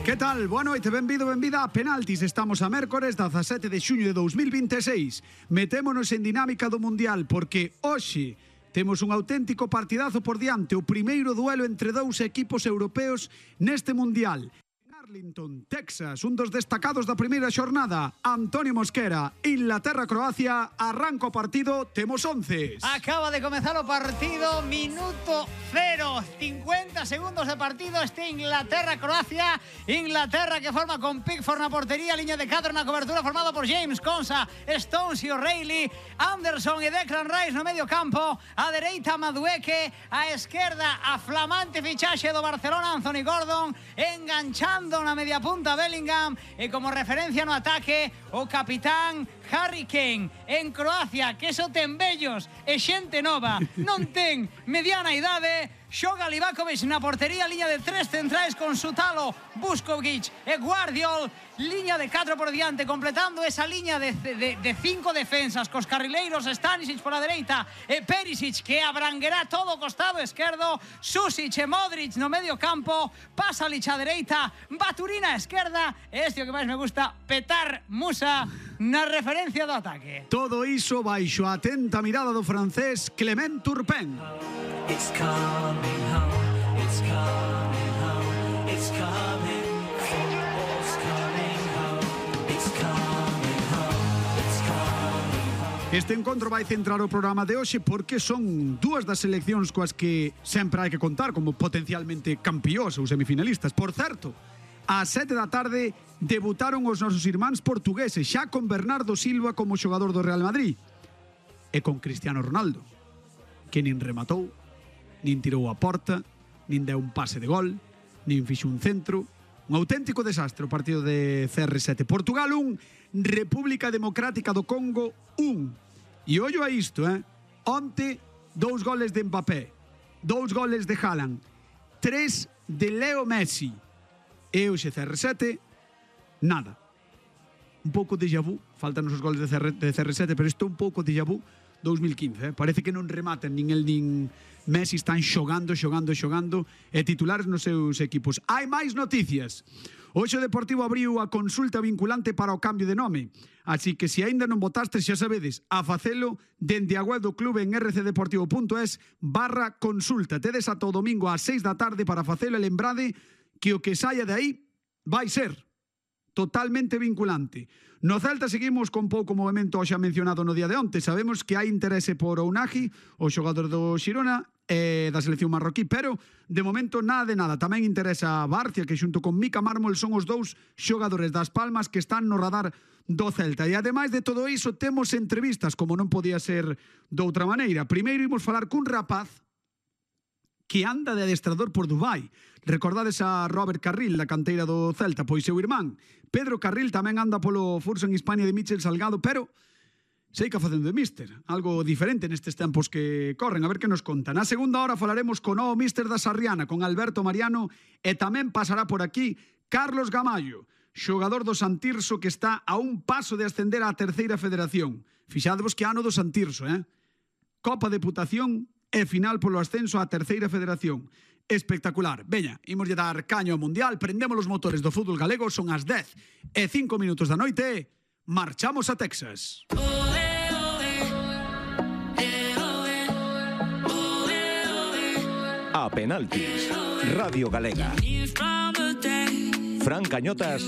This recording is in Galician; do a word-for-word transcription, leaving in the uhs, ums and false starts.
Que tal? Boa noite, benvido, benvida a Penaltis. Estamos a mércores dezasete de xuño de dous mil vinte e seis. Metémonos en dinámica do Mundial porque hoxe temos un auténtico partidazo por diante, o primeiro duelo entre dous equipos europeos neste Mundial. Arlington, Texas, un dos destacados da primeira xornada, Antonio Mosquera, Inglaterra-Croacia, arranca o partido, temos once. Acaba de comezar o partido, minuto cero, cincuenta segundos de partido, este Inglaterra-Croacia, Inglaterra que forma con Pickford na portería, liña de catro na cobertura formado por James, Konsa, Stones e O'Reilly, Anderson e Declan Rice no medio campo, a dereita Madueke, a esquerda a flamante fichaxe do Barcelona Anthony Gordon, enganchando na media punta Bellingham e como referencia no ataque o capitán Harry Kane. En Croacia, que só ten vellos e xente nova, non ten mediana idade, xoga Livakovic na portería, liña de tres centrais con Sutalo, Vuskovic e Guardiol, liña de catro por diante, completando esa liña de, de, de cinco defensas, cos carrileiros Stanisic por a dereita e Perisic que abranguerá todo o costado esquerdo, Susic e Modric no medio campo, Pasalic a dereita, Baturina a esquerda, e este o que máis me gusta, Petar Musa na referencia do ataque. Todo iso baixo a atenta mirada do francés Clement Turpin. It's coming home, it's coming home, it's coming, football's coming home, it's coming home, it's coming home. Este encontro vai centrar o programa de hoxe porque son dúas das seleccións coas que sempre hai que contar como potencialmente campións ou semifinalistas. Por certo, ás sete da tarde debutaron os nosos irmáns portugueses, xa con Bernardo Silva como xogador do Real Madrid e con Cristiano Ronaldo, que nin rematou, nin tirou a porta, nin deu un pase de gol, nin fixo un centro. Un auténtico desastre o partido de C R sete. Portugal un, República Democrática do Congo un. E ollo a isto, eh? Onte, dous goles de Mbappé, dous goles de Haaland, tres de Leo Messi. E hoxe C R sete, nada. Un pouco déjà vu, faltan os goles de C R sete, pero isto é un pouco déjà vu dous mil quince, eh? Parece que non rematen nin el nin Messi, están xogando, xogando, xogando e titulares nos seus equipos. Hai máis noticias. Hoxe o Deportivo abriu a consulta vinculante para o cambio de nome, así que se aínda non votastes, xa sabedes, a facelo dende a web do clube en rcdeportivo.es barra consulta. Tedes ata o domingo ás seis da tarde para facelo e lembrade que o que saia de aí vai ser totalmente vinculante. No Celta seguimos con pouco movimento xa mencionado no día de onte. Sabemos que hai interese por Ounahi, o xogador do Xirona e da selección marroquí, pero de momento nada de nada. Tamén interesa a Barcia, que xunto con Mika Mármol son os dous xogadores das Palmas que están no radar do Celta. E ademais de todo iso temos entrevistas, como non podía ser doutra maneira. Primeiro imos falar cun rapaz que anda de adestrador por Dubai. Recordades a Robert Carril, da canteira do Celta, pois seu irmán Pedro Carril tamén anda polo Furso en Hispania de Michel Salgado, pero sei que facendo de míster, algo diferente nestes tempos que corren. A ver que nos conta. Na segunda hora falaremos con o míster da Sarriana, con Alberto Mariano, e tamén pasará por aquí Carlos Gamallo, xogador do Santirso que está a un paso de ascender á terceira federación. Fixadevos que ano do Santirso, eh? Copa Deputación e final polo ascenso á terceira federación. Espectacular. Veña, imos lle dar caño ao Mundial, prendemos os motores do fútbol galego, son as dez e cinco minutos da noite, marchamos a Texas. A Penaltis, Radio Galega. Fran Cañotas